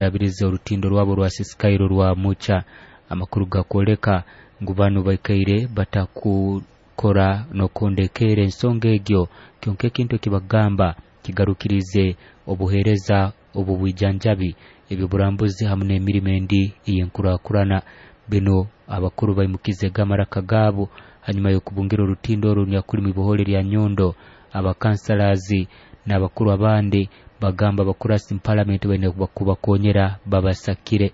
Abirize orutindo rwabo rwa Sisikairo rwa Mucha. Amakuru gakwoleka ngu banu baikaire batakukora n'okondekera ensonga egyo, kyonka ekintu ekibagamba kigarukirize obuheereza obw'obwijanjabi, eby'oburambuzi hamu n'emirimo endi ey'enkurakurana. Binu abakuru baimukizege amaraka gaabo hanyuma y'okubungira orutindo oru orunyakuli mw'ibohole lya Nyondo. Abakansalazi n'abakuru abandi bagamba abakurasi mu palamenti baine kubakonyera babasakire.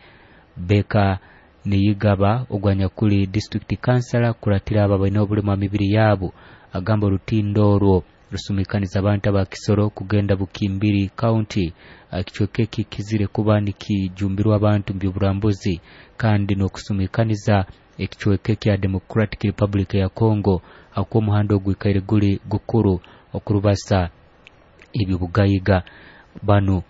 Beka Niyigaba ogwo anyakuli disitulikiti kansala kukuratira abo abaine obulemu ha mibiri yabo agamba orutindo orwo rusumikaniza abantu aba Kisoro kugenda Bukimbiri County, ekicweka eki kizire kuba nikijumbirwa abantu mu by'oburambuzi kandi n'okusumikaniza ekicweka ekya Democratic Republic ya Congo ahakuba omuhanda ogwikaire guli gukuru okurubasa eby'obugaiga. Banu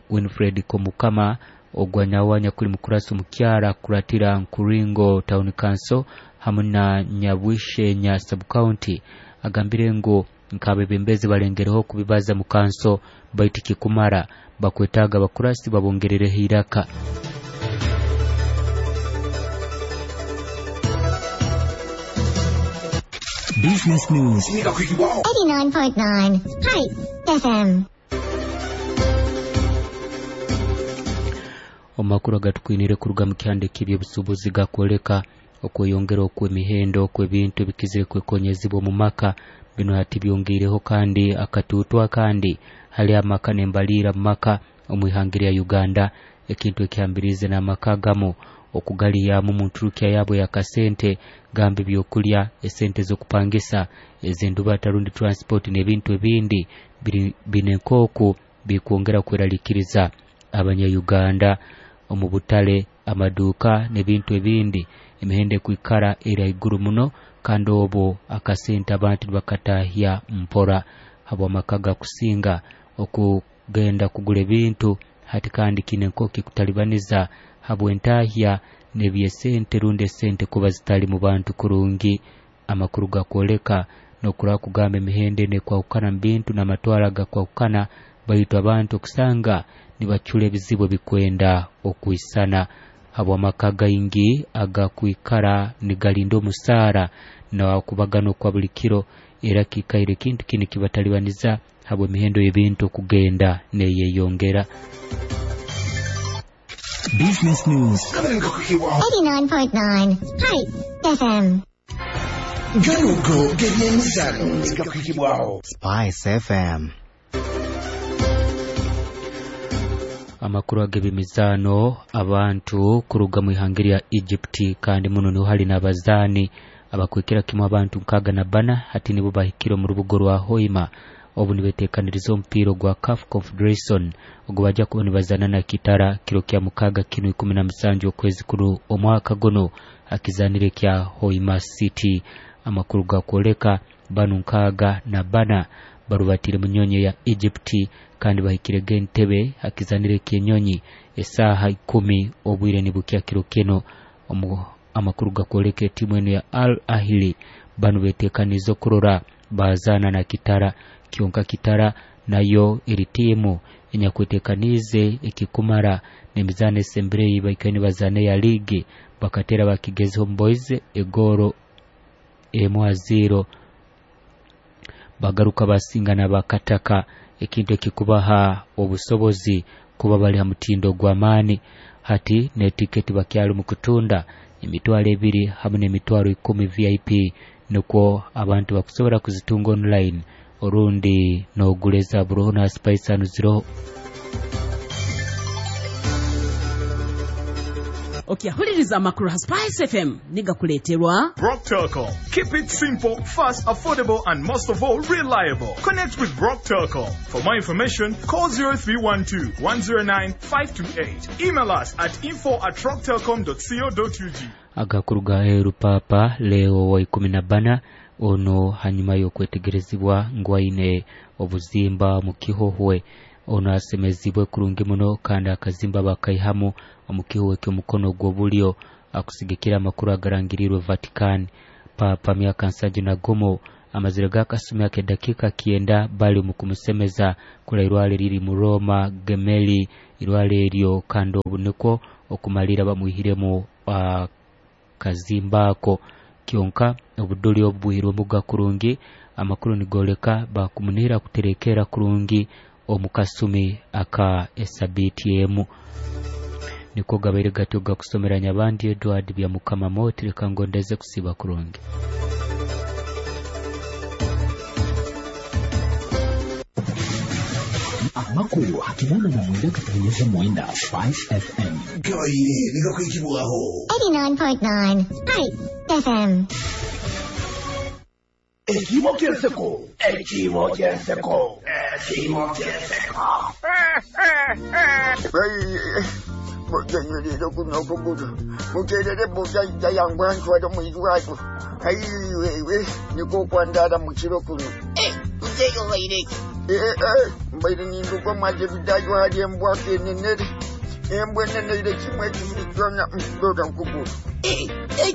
Winfred Komukama ogwa nawe anyakuli mukurasi omukyara akukuratira Nkuringo Town Council hamu na Nyabwishenya Sub-County agambire ngu nk'abebembezi balengereho kubibaza mu kanso baitu kikumara bakwetaaga abakurasi babongerereho iraka. Business News. 89.9 Hi FM. Omu makuru agatukwiniire kuruga mu kihanda eky'eby'obusuubuzi gakwoleka okweyongera okw'emihendo okw'ebintu ebikizire kwekonyezibwa omu maka. Binu hati byongiireho kandi akatuutu akandi hali amaka n'embaliira mu maka omu ihanga lya Uganda, ekintu ekihambiriize n'amaka agamu okugalihyamu mu nturukya yabo ey'akasente gamba ebyokulya, esente z'okupangisa, ez'endubata rundi transport n'ebintu ebindi biri bine nk'oku bikwongera kweralikiriza abanya-Uganda omu butale, amaduuka n'ebintu ebindi. Emihendo ekwikara eri haiguru muno kandi obu akasente abantu nibakatahya mpora habw'amaka gakusinga okugenda kugura ebintu hati kandi kiine nk'oku kikutalibaniza habw'entahya n'eby'esente rundi esente kuba zitali mu bantu kurungi. Amakuru gakwoleka n'okurora kugamba emihendo enu ekwahukana mu bintu n'amatwaro agakwahukana baitu abantu okusanga nibacura ebizibu ebikwenda okwisana habw'amaka gaingi agakwikara nigalinda omusaara n'okubagana okwa buli kiro era kiikaire ekintu kinu kibatalibaniza habw'emihendo y'ebintu okugenda n'eyeyongera. Business News. 89.9 Hi FM. Ganugo g'ebyemizano gakuhikibwaho Spice FM. Amakuru ag'eby'emizaano abantu kuruga mu ihanga lya Egypt kandi muno niho hali n'abazaani abakwikira kimu abantu 64 hati nibo bahikire omu rubuga rwa Hoima obu nibeteekaniriza omupiira ogwa CAF Confederation ogu bajja kuba nibazaana na Kitara kiro kya mukaaga kinu 17 okwezi kuno omwaka guno akizaanire kya Hoima City. Amakuru gakwoleka banu 64 barubatire mu nyonyi ya Egypt kandi bahikirege entebe akizanire ky'enyonyi esaaha 10 obwire nibukya kiro kino. Amakuru gakwoleka etimu enu ya Al Ahly banu beteekaniize okurora bazaana na Kitara, kyonka Kitara nayo eri tiimu enyakweteekaniize ekikumara n'emizaano esembireyo baikaire nibazaana eya liigi bakateera Bakigezi Homeboys egooro 1-0 bagaruka basinga n'abakataka, ekintu ekikubaha obusobozi kuba bali ha mutindo gw'amaani. Hati n'etiketi bakyali mu kutunda 20,000 hamu n'10,000 VIP nukwo abantu bakusobora kuzitunga online orundi n'ogura eza buroho na Spice hanu ziroho. Okyahuliriza amakuru ha Spice FM nigakuleeterwa Brock Telcom. Keep it simple, fast, affordable, and most of all, reliable. Connect with Brock Telcom. For more information, call 0312 109 528. Email us at info@rocktelcom.co.ug. Agakuru ga Heru Papa Leo wa 14 ono hanyuma y'okwetegerezibwa ngu aine obuzimba mu kihohwe. Ono asemezibwe kurungi muno kandi akazimba bakaihamu omu kihohwe ky'omukono gw'obulyo akusigikira amakuru agarangirirwe Vatican. Papa myaka 71 amazire g'akasumi ak'edakiika 9 bali omu kumusemeza kurairwale riri mu Roma Gemelli Irwaro eryo kandi obu nikwo okumalira bamwihiremu kazimba ako kyonka obudoli obu bwihirwemuga kurungi. Amakuru nigoleka bakumunihira kuterekera kurungi omu kasumi aka esabiti emu. Niko gabaire gatyo gakusomera Nyabandi Edward Byamukama Moti. Reka ngondeze kusiba kurungi. Amakuru 89.9 Spice FM. Gabaire nigakwikibwaho. 89.9 Spice FM. Ekimo ky'enseko. Ekimo ky'enseko. Ekimo ky'enseko. Bojanywerera kuno okugulu muterere bojajja yangu antwala mu irwaliro aiwewe niko okwandala mu kiro kuno. Nzeyo baireki. Mbaire ninduka mwaje bidayo hali embwako enenere embwa eneneire kimwe ekibiri kyona dora nkugulu.